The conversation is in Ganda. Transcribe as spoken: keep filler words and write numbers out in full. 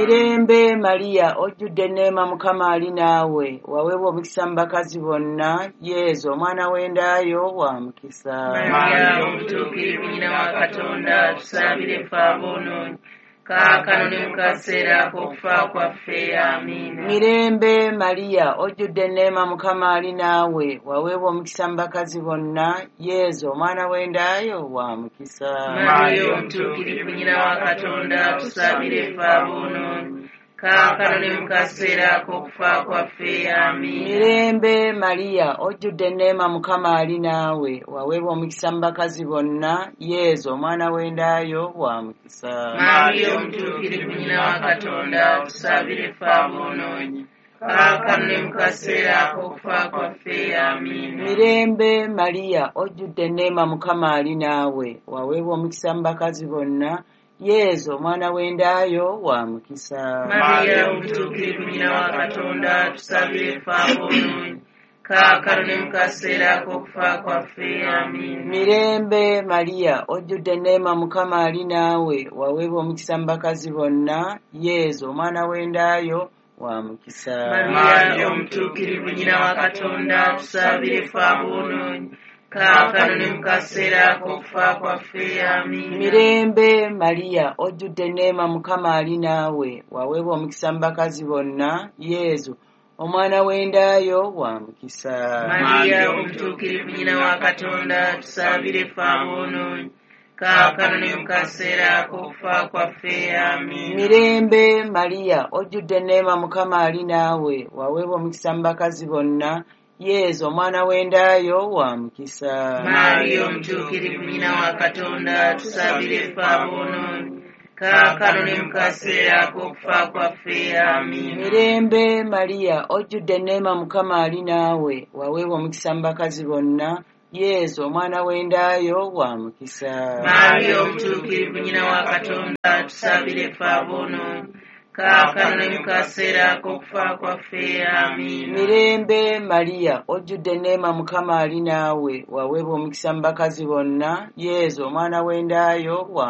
Mirembe Mariya, ojjudde enneema, Mukama ali naawe, waweebwa omukisa mu bakazi bonna, Yezu omwana w'endaayo wa mukisa. Mariya omutuukirivu nnyina wa Katonda, tusaabire ffe aboonoonyi, kaakano ne mu kaseera ak'okufa kwaffe. Amiina. Mirembe Mariya, ojjudde enneema, Mukama ali naawe, waweebwa omukisa mu bakazi bonna, Yezu omwana w'endaayo wa mukisa. Mariya omutuukirivu nnyina wa Katonda, tusaabire ffe aboonoonyi, kaakano ne mu kaseera ak'okufa kwaffe. Amiina. Mirembe Mariya, ojjudde enneema, Mukama ali naawe, waweebwa omukisa mu bakazi bonna, Yezu omwana w'endaayo wa mukisa. Mariya omutuukirivu nnyina wa Katonda, tusaabire ffe aboonoonyi, kaakano ne mu kaseera ak'okufa kwaffe. Amiina. Mirembe Mariya, ojjudde enneema, Mukama ali naawe, waweebwa omukisa mu bakazi bonna, Yezu omwana w'endaayo wa mukisa. Mariya omutuukirivu nnyina wa Katonda, tusaabire ffe aboonoonyi, kaakano ne mu kaseera ak'okufa kwaffe. Amiina. Mirembe Mariya, ojjudde enneema, Mukama ali naawe, waweebwa omukisa mu bakazi bonna, Yezu omwana w'endaayo wa mukisa. Mariya omutuukirivu nnyina wa Katonda, tusaabire ffe aboonoonyi, kaakano ne mu kaseera ak'okufa kwaffe. Amiina. Mirembe Mariya, ojjudde enneema, Mukama ali naawe, waweebwa omukisa mu bakazi bonna, Yezu omwana w'endaayo wa mukisa. Mariya omutuukirivu nnyina wa Katonda, tusaabire ffe aboonoonyi, kaakano ne mu kaseera ak'okufa kwaffe. Amiina. Mirembe Mariya, ojjudde enneema, Mukama ali naawe, waweebwa omukisa mu bakazi bonna, Yezu omwana w'endaayo wa mukisa. Mariya omutuukirivu nnyina wa Katonda, tusaabire ffe aboonoonyi, kaakano ne mu kaseera ak'okufa kwaffe. Amiina. Mirembe Mariya, ojjudde enneema, Mukama ali naawe, waweebwa omukisa mu bakazi bonna, Yezu omwana w'endaayo wa mukisa. Mariya omutuukirivu nnyina wa Katonda, tusaabire ffe aboonoonyi, kaakano ne mu kaseera ak'okufa kwaffe. Amiina. Mirembe Mariya, ojjudde enneema, Mukama ali naawe, waweebwa omukisa mu bakazi bonna, Yezu omwana w'endaayo wa